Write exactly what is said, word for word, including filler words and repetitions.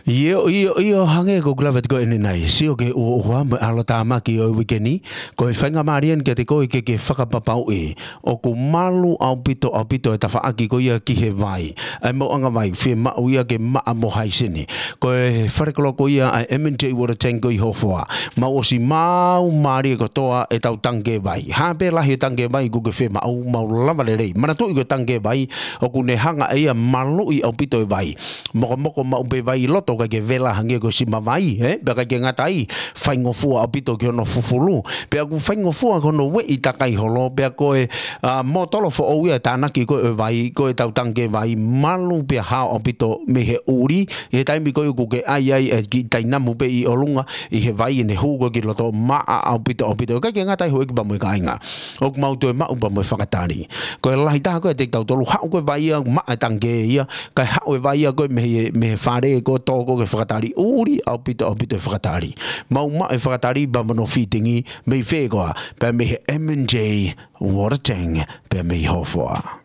ʻIo, ʻio, ʻio, hangē ko ʻeku lave atu ko eni nai. Sio ki he ʻuhoʻuha mo e ʻalotāmaki ʻo e uike ni, ko e faingamālie eni kiate koe ke ke fakapapauʻi ʻoku malu ʻaupito, ʻaupito e tafaʻaki ko ia ki he vai. ʻA e maʻuʻanga vai, fiemaʻu ia ke maʻa mo haisini. Ko e fale kolo ko ia ʻa e M and J Water Tank ko ē ʻi Hofoa. Mau ʻosi maumau mālie kotoa ʻetau tangikē vai. Hā pē lahi e tangikē vai ʻoku ke fiemaʻu, mau lava lelei. Manatuʻi ko e tangikē vai, ʻoku ne hanga ʻe ia ʻo maluʻi ʻaupito e vai. Mokomoko maʻu pē vai ʻi loto, ʻikai ke vela hangē ko e sima vai, ē? Pea ʻikai ke ngata ai, faingofua ʻaupito ki hono fufulu. Pea ʻoku faingofua ki hono ueʻi takai holo, pea ko e, ā, mōtolo foʻou ia ʻe tānaki ko ē ʻo e vai, ko ʻetau tangikē vai, malu pea hao ʻaupito mei he ʻuli, ʻi he taimi ko ē ʻoku ke ʻai ai e kiʻi tainamu pē ʻi ʻolunga, ʻi he vai ʻene hū ko ē ki loto, maʻa ʻaupito, ʻaupito. ʻIkai ke ngata ai, houʻeiki pea mo e kāinga, ʻoku mau toe maʻu pea mo e fakatali. Ko e lahi taha ko ē ʻiate kitautolu, haʻu ko ē vai ia, maʻa e tangikē ia, kae haʻu e vai ia ko ē mei he, mei he fale ko ē, tō ko ē ki he fakatali, ʻuli ʻaupito, ʻaupito e fakatali. Mau maʻu e fakatali pea mo hono fitting mei fē koā? Pea mei he M and J Water Tank, pea mei Hofoa.